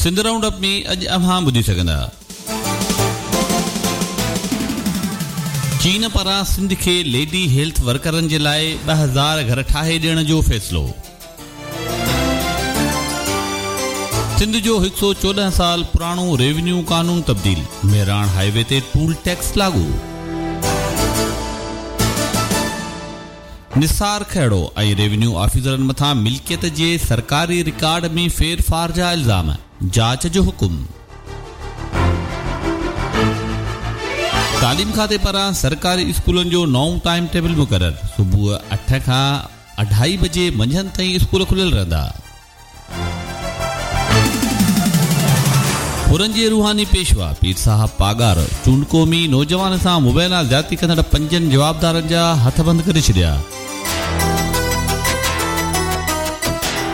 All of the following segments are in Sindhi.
سنڌ رائونڊ اپ ۾ اڄ اوهان ٻڌي سگهندا. چين پاران سنڌ کي ليڊي هيلٿ ورڪرن جي لاء 2000 گهر ٺاهي ڏيڻ جو فيصلو. سنڌ جو هڪ سئو 14 سال پراڻو ريونيو قانون تبديل، مهراڻ هاء وي تي ٽول ٽيڪس لاڳو. نثار کهڙو ۽ ريونيو آفيسرن مٿان ملڪيت جي سرڪاري رڪارڊ ۾ ڦيرڦار جا الزام، جاچ جو حڪم. تعليم کاتي پاران سرڪاري اسڪولن جو نئون ٽائيم ٽيبل مقرر، صبح اٺ کان اڍائي بجي منجهند تائين اسڪول کليل رهندا. حرن جي روحاني پيشوا پير صاحب پاڳارو چونڊڪو ۾ نوجوان سان مبينا زيادتي ڪندڙ پنجن جوابدارن جا هٿ بند ڪري ڇڏيا.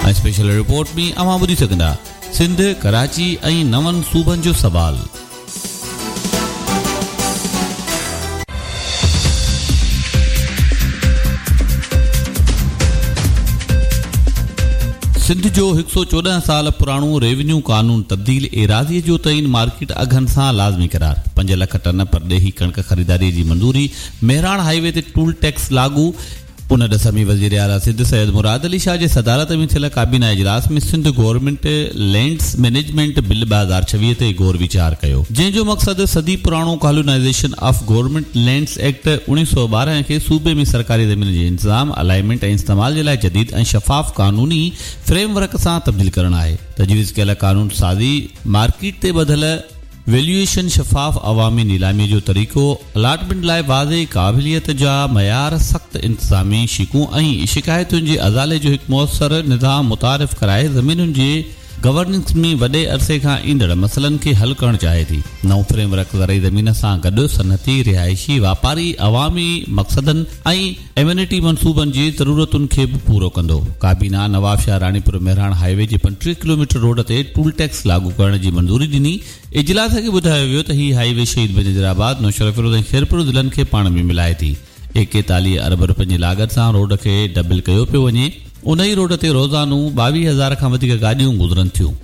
۽ اسپيشل رپورٽ ۾ اوهان ٻڌي سگهندا سنڌ، ڪراچي ۽ نون صوبن جو سوال. سنڌ جو هڪ سئو 14 سال پراڻو ريونيو قانون تبديل، ايراضيء جو تعين مارڪيٽ اگهن سان لازمي قرار، 5 لک ٽن پرڏيهي ڪڻڪ خريداري جي منظوري، مهراڻ هائي وي تي ٽول ٽيڪس لاڳو، ان ڏس ۾ وزيراعليٰ سنڌ سيد مراد علي شاهه جي صدارت ۾ ٿيل ڪابينا اجلاس ۾ Sindh government lands management bill 2026 تي غور ويچار ڪيو، جنهن جو مقصد صدي پراڻو colonization of government lands act 1912 کي صوبي ۾ سرڪاري زمين جي انتظام، الائنمينٽ ۽ استعمال جي لاء جديد ۽ شفاف قانوني فريم ورڪ سان تبديل ڪرڻ آهي. تجويز ڪيل قانون سازي مارڪيٽ تي ٻڌل ويليوئيشن، شفاف عوامي نيلامي جو طريقو، الاٽمينٽ لاء واضح قابليت جا معيار، سخت انتظامي شقون ۽ شڪايتن جي ازالي جو هڪ موثر نظام متعارف ڪرائي زمينن جي گورننس ۾ وڏي عرصي کان ايندڙ مسئلن کي حل ڪرڻ چاهي ٿي. نئون فريم ورڪ زرعي زمين سان گڏ صنعتي، رهائشي، واپاري، عوامي مقصدن ۽ ايمينٽي منصوبن جي ضرورتن کي به پورو ڪندو. ڪابينا نوابشاهه راڻيپور مهراڻ هائي وي جي 35 ڪلوميٽر روڊ تي ٽول ٽيڪس لاڳو ڪرڻ جي منظوري ڏني. اجلاس کي ٻڌايو ويو ته هي هائي وي شهيد بينظير آباد، نوشهروفيروز ۽ خيرپور ضلعن کي پاڻ ۾ ملائي ٿي. 41 ارب روپين جي لاڳت سان روڊ کي ڊبل ڪيو پيو وڃي. انهي روڊ تي روزانو 22,000 کان وڌيڪ گاڏيون گذرن ٿيون.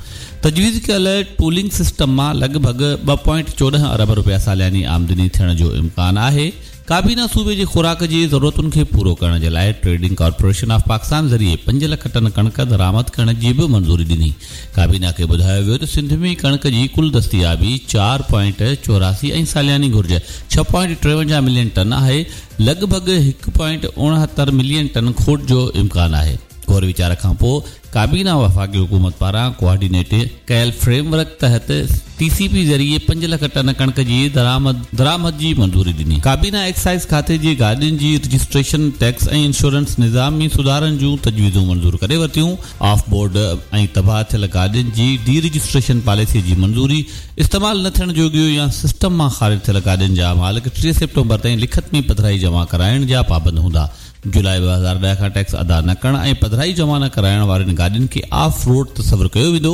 تجويز ڪيل ٽولنگ سسٽم مان لڳ ڀڳ 2.14 ارب روپيا سالياني آمدني ٿيڻ جو امڪان آهي. ڪابينا صوبي جي خوراڪ جي ضرورتن کي پورو ڪرڻ جي لاء ٽريڊنگ ڪارپوريشن آف پاڪستان ذريعي 5 لک ٽن ڪڻڪ درآمد ڪرڻ جي به منظوري ڏني. ڪابينا کي ٻڌايو ويو ته سنڌ ۾ ڪڻڪ جي ڪل دستيابي 4.84 ۽ سالياني گهرج 6.53 ملين ٽن آهي، لڳ ڀڳ 1.69 ملين ٽن کوٽ جو امڪان آهي. غور ويچار کانپوء ڪابينا وفاقي حڪومت پاران ڪوآرڊينيٽ ڪيل فريم ورڪ تحت ٽي سي پي ذريعي 5 لک ٽن ڪڻڪ جي درآمد جي منظوري ڏني. ڪابينا ايڪسائيز کاتي جي گاڏين جي رجسٽريشن، ٽيڪس ۽ انشورنس نظام ۾ سڌارن جون تجويزون منظور ڪري ورتيون. آف بورڊ ۽ تباهه ٿيل گاڏين جي ڊي رجسٽريشن پاليسي جي منظوري، استعمال نه ٿيڻ جوڳيون يا سسٽم مان خارج ٿيل گاڏين جا مالڪ 30 سيپٽمبر تائين لکت ۾ پڌرائي جمع ڪرائڻ جا پابند هوندا. جولاء 2010 کان ٽيڪس ادا نه ڪرڻ ۽ پڌرائي جمع نه ڪرائڻ وارين گاڏين کي آف روڊ تصور ڪيو ويندو،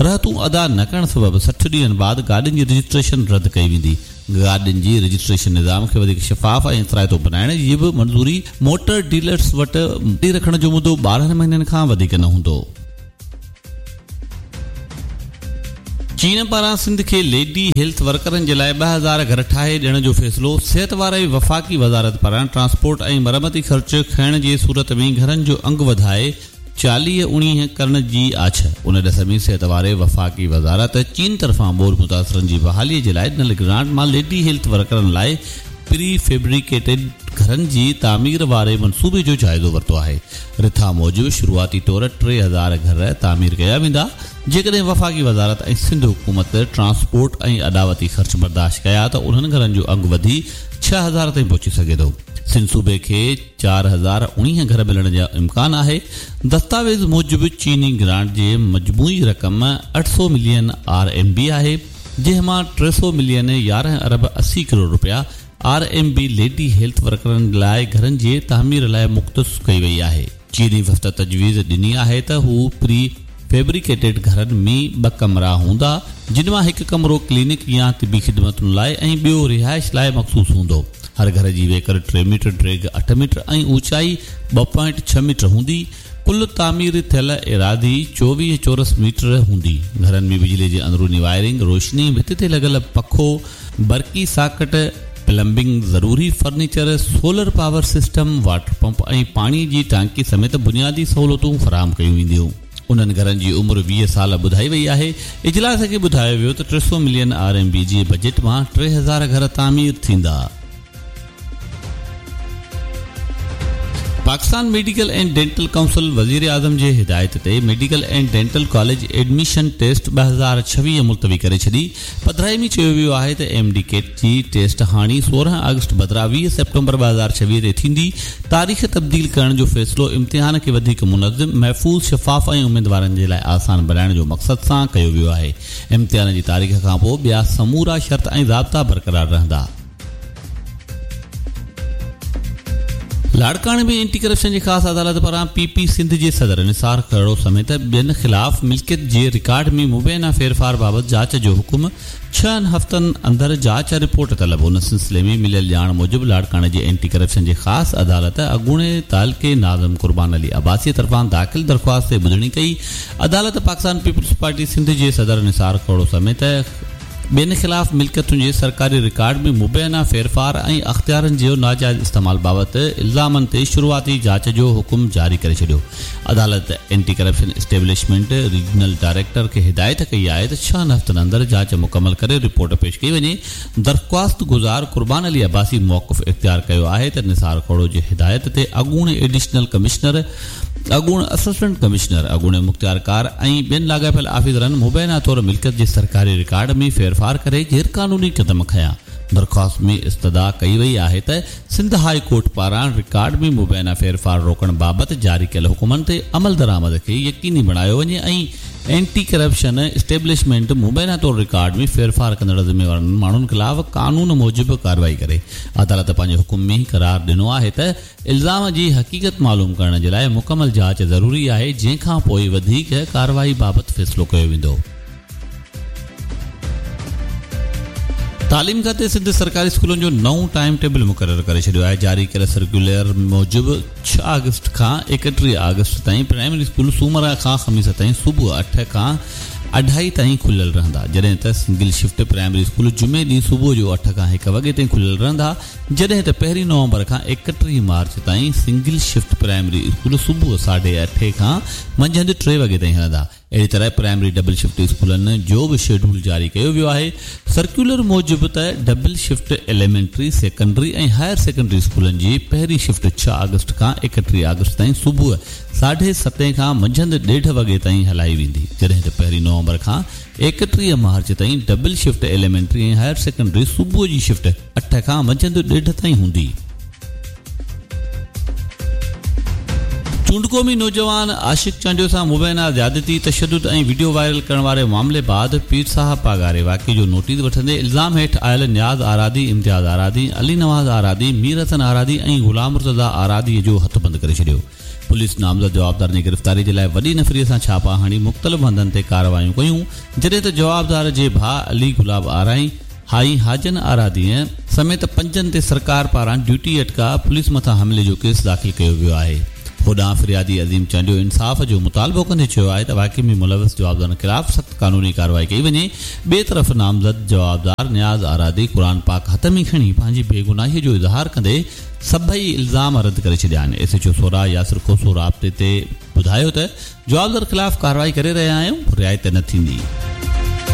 رهتون ادا نه ڪرڻ سبب 60 ڏينهن بعد گاڏين جي رجسٽريشن رد ڪئي ويندي. گاڏين جي رجسٽريشن نظام کي وڌيڪ شفاف ۽ اثرائتو بنائڻ جي به منظوري، موٽر ڊيلرز وٽ گاڏي رکڻ جو مدو 12 مهينن کان وڌيڪ نه هوندو. چين پاران سنڌ کي ليڊي هيلٿ ورڪرن جي لاء 2000 گهر ٺاهي ڏيڻ جو فيصلو، صحت واري وفاقي وزارت پاران ٽرانسپورٽ ۽ مرمتي خرچ کڻڻ جي صورت ۾ گهرن جو انگ وڌائي 40 اڻيهه ڪرڻ جي آڇ، ان ڏس ۾ صحت واري وفاقي وزارت چين طرفان ٻوڏ متاثرن جي بحالي جي لاء ڏنل گرانٽ مان ليڊي هيلٿ ورڪرن لاء پري فيبريڪيٽڊ گهرن جي تعمير واري منصوبي جو جائزو ورتو آهي. رٿا موجب شروعاتي طور 3000 گهر تعمير ڪيا ويندا، جيڪڏهن وفاقي وزارت ۽ سنڌ حڪومت ٽرانسپورٽ ۽ اڏاوتي خرچ برداشت ڪيا ته انهن گهرن جو انگ وڌي 6000 تائين پهچي سگهي ٿو. سنڌ صوبي کي 4019 گهر ملڻ جو امڪان آهي. دستاويز موجب چيني گرانٽ جي مجموعي رقم 800 ملين آر ايم بي آهي، جنهن مان 300 ملين 11 ارب 80 ڪروڙ رپيا R M B lady health ورڪرن لاء گهرن جي تعمير لاء مختص ڪئي وئي آهي. چيني وفد تجويز ڏني آهي ته هو پري فيبريڪيٽيڊ گهرن ۾ ٻه ڪمرا هوندا، جن مان هڪ ڪمرو ڪلينڪ يا طبي خدمتن لاء ۽ ٻيو رهائش لاء مخصوص هوندو. هر گهر جي ويڪر ٽي ميٽر، ڊيگهه اٺ ميٽر ۽ اوچائي 2.6 ميٽر هوندي. ڪل تعمير ٿيل ايراضي 24 چورس ميٽر هوندي. گهرن ۾ بجلي جي اندروني وائرنگ، روشني، ڀت تي لڳل پکو، برقي ساڪٽ، پلمبنگ، ضروري furniture, solar power system, water pump ۽ پاڻي جي ٽانڪي سميت بنيادي سهولتون فراهم ڪيون وينديون. انهن گهرن جي عمر 20 سال ٻڌائي وئي آهي. اجلاس کي ٻڌايو ويو ته 300 ملين آر ايم بي جي بجيٽ مان 3000 گهر تعمير ٿيندا. Pakistan medical and dental council وزيراعظم جي هدايت تي medical and dental college admission test 2026 ملتوي ڪري ڇڏي. پڌرائي ۾ چيو ويو آهي ته ايم ڊي ڪيٽ جي ٽيسٽ هاڻي 16 آگسٽ بدران 20 سيپٽمبر 2026 تي ٿيندي. تاريخ تبديل ڪرڻ جو فيصلو امتحان کي وڌيڪ منظم، محفوظ، شفاف ۽ اميدوارن جي لاء آسان بڻائڻ جو مقصد سان ڪيو ويو آهي. امتحان جي تاريخ کانپوء ٻيا سمورا شرط ۽ ضابطا برقرار رهندا. لاڙڪاڻي ۾ اينٽي ڪرپشن جي خاص عدالت پاران پي پي سنڌ جي صدر نثار کهڙو سميت ٻين خلاف ملڪيت جي رڪارڊ ۾ مبينا ڦيرڦار بابت جاچ جو حڪم، ڇهن هفتن اندر جاچ رپورٽ طلب. ان سلسلي ۾ مليل ڄاڻ موجب لاڙڪاڻي جي اينٽي ڪرپشن جي خاص عدالت اڳوڻي تعلقي ناظم قربان علي عباسي طرفان داخل درخواست تي ٻڌڻي ڪئي. عدالت پاڪستان پيپلز پارٽي سنڌ جي صدر نثار کهڙو سميت ٻين خلاف ملڪيتن جي سرڪاري رڪارڊ ۾ مبينا ڦيرڦار ۽ اختيارن جو ناجائز استعمال بابت الزامن تي شروعاتي جاچ جو حڪم جاري ڪري ڇڏيو. عدالت anti corruption establishment regional director کي هدايت ڪئي آهي ته ڇهن هفتن اندر جاچ مڪمل ڪري رپورٽ پيش ڪئي وڃي. درخواست گذار قربان علي عباسي موقف اختيار ڪيو آهي ته نثار کهڙو جي هدايت تي اڳوڻي ايڊيشنل ڪمشنر، اڳوڻ اسسٽنٽ ڪمشنر، اڳوڻي مختيارڪار ۽ ٻين لاڳاپيل آفيسرن مبينا طور ملڪيت جي سرڪاري رڪارڊ ۾ ڦيرڦار ڪري غيرقانوني قدم کنيا. درخواست ۾ استدعا ڪئي وئي آهي ته سنڌ هاء ڪورٽ پاران رڪارڊ ۾ مبينا ڦيرڦار روڪڻ بابت جاري ڪيل حڪمن تي عملدرآمد کي يقيني بڻايو وڃي ۽ اينٽي ڪرپشن اسٽيبلشمينٽ مبينا طور رڪارڊ ۾ ڦيرڦار ڪندڙ ذميوار ماڻهن خلاف قانون موجب ڪارروائي ڪري. عدالت پنهنجي حڪم ۾ قرار ڏنو آهي ته الزام جي حقيقت معلوم ڪرڻ جي لاء مڪمل جاچ ضروري آهي، جنهن کان پوء وڌيڪ ڪارروائي بابت فيصلو ڪيو ويندو. تعليم کاتي سنڌ سرڪاري اسڪولن جو نئون ٽائيم ٽيبل مقرر ڪري ڇڏيو آهي، جاري ڪيل سرڪيولر موجب ڇهه آگسٽ کان 31 آگسٽ تائين پرائمري اسڪول سومر کان خميس تائين صبح اٺ کان اڍائي تائين کليل رهندا، جڏهن ته سنگل شفٽ پرائمري اسڪول جمعي ڏينهن صبح جو اٺ کان هڪ وڳي تائين کليل رهندا، جڏهن ته پهرين نومبر کان 31 مارچ تائين سنگل شفٽ پرائمري اسڪول صبح ساڍي اٺين کان منجهند ٽي وڳي تائين هلندا. اهڙي طرح پرائمري ڊبل شفٽ اسڪولن جو به شيڊول جاري ڪيو ويو آهي. سرڪيولر موجب ته double shift elementary, secondary ۽ higher secondary اسڪولن جي پهرين شفٽ ڇهه آگسٽ کان 31 آگسٽ تائين صبح ساڍي ستين کان منجهند ڏيڍ وڳي تائين هلائي ويندي، جڏهن ته پهرين نومبر کان 31 مارچ تائين double shift elementary ۽ higher secondary صبح جي شفٽ اٺ کان منجهند ڏيڍ تائين هوندي. چونڊڪو ۾ نوجوان عاشق چانڊيو سان مبينا زيادتي، تشدد ۽ وڊيو وائرل ڪرڻ واري معاملي بعد پير صاحب پاڳاري واقعي جو نوٽيس وٺندي الزام هيٺ آيل نياز آرادي، امتياز آرادي، علي نواز آرادي، مير حسن آرادي ۽ غلام مرتضيٰ آرادي جو هٿ بند ڪري ڇڏيو. پوليس نامزد جوابدارن جي گرفتاري جي لاء وڏي نفري سان ڇاپا هڻي مختلف هنڌن تي ڪارروايون ڪيون، جڏهن ته جوابدار جي ڀاء علي گلاب آرائين، ۽ حاجن آراديء سميت پنجن تي سرڪار پاران ڊيوٽي اٽڪاء پوليس مٿان حملي جو ڪيس داخل ڪيو ويو آهي. هوڏانهن فريادي عظيم چانڊيو انصاف جو مطالبو ڪندي چيو آهي ته واقعي ۾ ملوث جوابدارن خلاف سخت قانوني ڪارروائي ڪئي وڃي. ٻئي طرف نامزد جوابدار نياز آرادي قرآن پاڪ هٿ ۾ کڻي پنهنجي بيگناهي جو اظهار ڪندي سڀئي الزام رد ڪري ڇڏيا آهن. S H O Soura Yasir Khoso رابطي تي ٻڌايو ته جوابدار خلاف ڪارروائي ڪري رهيا آهيون، رعايت نه ٿيندي.